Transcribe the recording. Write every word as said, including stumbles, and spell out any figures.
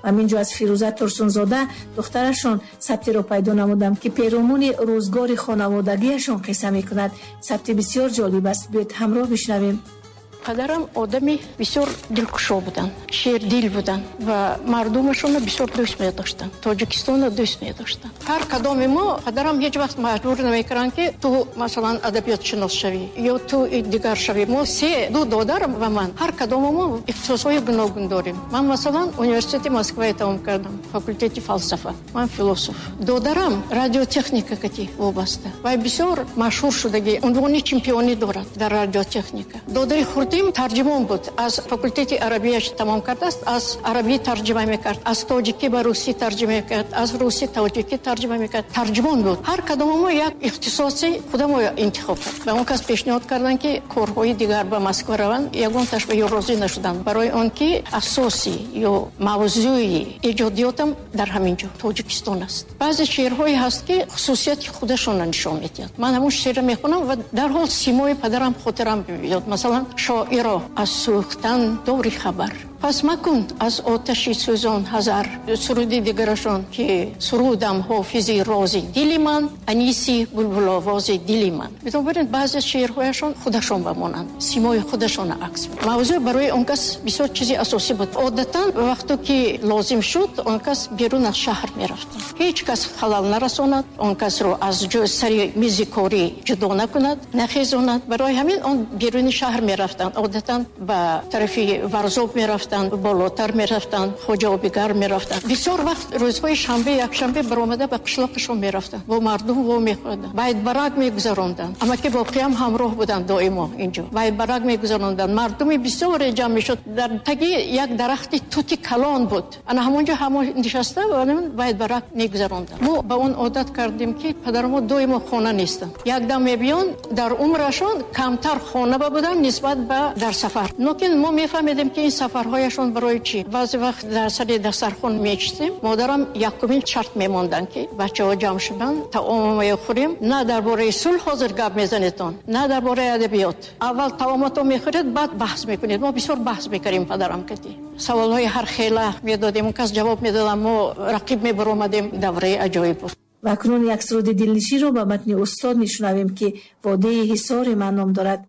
Ҳаминҷо аз Фирӯза Турсунзода, духтарашон, сабтиро пайдо намудам, ки перомуни рӯзгори хонаводагиашон қисса мекунад. Сабти бисёр ҷолиб аст. Биёед, ҳамроҳ бишнавем. Падарам одами бисёр дилкушо буданд, шердил буданд ва мардумашонро бисёр дӯст медоштанд, Тоҷикистонро дӯст медоштанд. Ҳар кадоми мо падарам ҳеҷ вақт маҷбур намекарданд, ки ту, масалан, адабиётшинос шавӣ ё ту дигар шавӣ. Мо се, ду додар ва ман, ҳар кадомо мо ихтисосҳои гуногун дорем. Ман, масалан, университети Москвае тамом кардам, факултети фалсафа, ман философ. Додарам радиотехника кати вобаста ва бисёр машҳур шудагӣ, унвони чемпионӣ дорад дар радиотехника. Додари хурдим тарҷимон буд, аз факултети арабияш тамом кардааст, аз арабӣ тарҷима мекард, аз тоҷикӣ ба русӣ тарҷима мекард, аз русӣ тоҷикӣ тарҷима мекард, тарҷимон буд. Ҳар кадомо мо як ихтисоси худамо интихоб кард. Ба он кас пешниҳод карданд, ки корҳои дигар ба Москва раванд, ягонташ ба ё розӣ нашуданд, барои он ки асоси ё мавзӯи эҷодиётам дар ҳамин ҷо Тоҷикистон аст. Баъзе шеърҳое ҳаст, ки хусусияти худашонро нишон медиҳад. Ман ҳамон шеърро мехонам ва дарҳол симои падарам хотирам меояд. Масалан, шоиро аз сӯхтан дори хабар, пас макун аз оташи сӯзон ҳазар. Суруди дигарашон, ки сурудам ҳофизи рози дили ман, аниси булбуловози дили ман. Бинобар ин баъзе шеърҳояшон худашон ба монанд, симои худашонро акс. Мавзӯъ барои он кас бисёр чизи асосӣ буд. Одатан вақто ки лозим шуд, он кас берун аз шаҳр мерафтанд, ҳеҷ кас халал нарасонад, он касро аз сари мизи корӣ ҷудо накунад, нахезонад. Барои ҳамин он беруни шаҳр мерафтанд, одатан ба тарафи Варзоб мерафтанд, болотар мерафтанд, Хоҷаобигар мерафтанд. Бисёр вақт рӯзҳои шанбе, якшанбе баромада ба қишлоқашон мерафтанд, бо мардум во мехӯрданд, байтбарак мегузаронданд. Амаки воқеам ҳамроҳ буданд доимо, инҷо байтбарак мегузаронданд, мардуми бисёре ҷамъ мешуд. Дар таги як дарахти тути калон буд, ана ҳамонҷо ҳамо нишаста байтбарак мегузаронданд. Мо ба он одат кардем, ки падармо доимо хона нестанд, якдам мебиён. Дар умрашон камтар хона ба буданд нисбат ба дар сафар. Лекин мо мефаҳмидем, ки ин сафарҳояшон барои чӣ. Баъзе вақт дар сари дастархон мечистем, модарам якумин шарт мемонданд, ки бачаҳо ҷамъ шуданд, таомо мехӯрем, на дар бораи сулҳ ҳозир гап мезанедтон, на дар бораи адабиёт, аввал таомато мехӯред, баъд баҳс мекунед. Мо бисёр баҳс мекардем падарам кати, саволҳои ҳар хела медодем, он кас ҷавоб медодам, мо рақиб мебаромадем. Давраи аҷоиб буд. Ва акнун як суруди дилнишинро ба матни устод мешунавем, ки «Водии Ҳисори ман» ном дорад.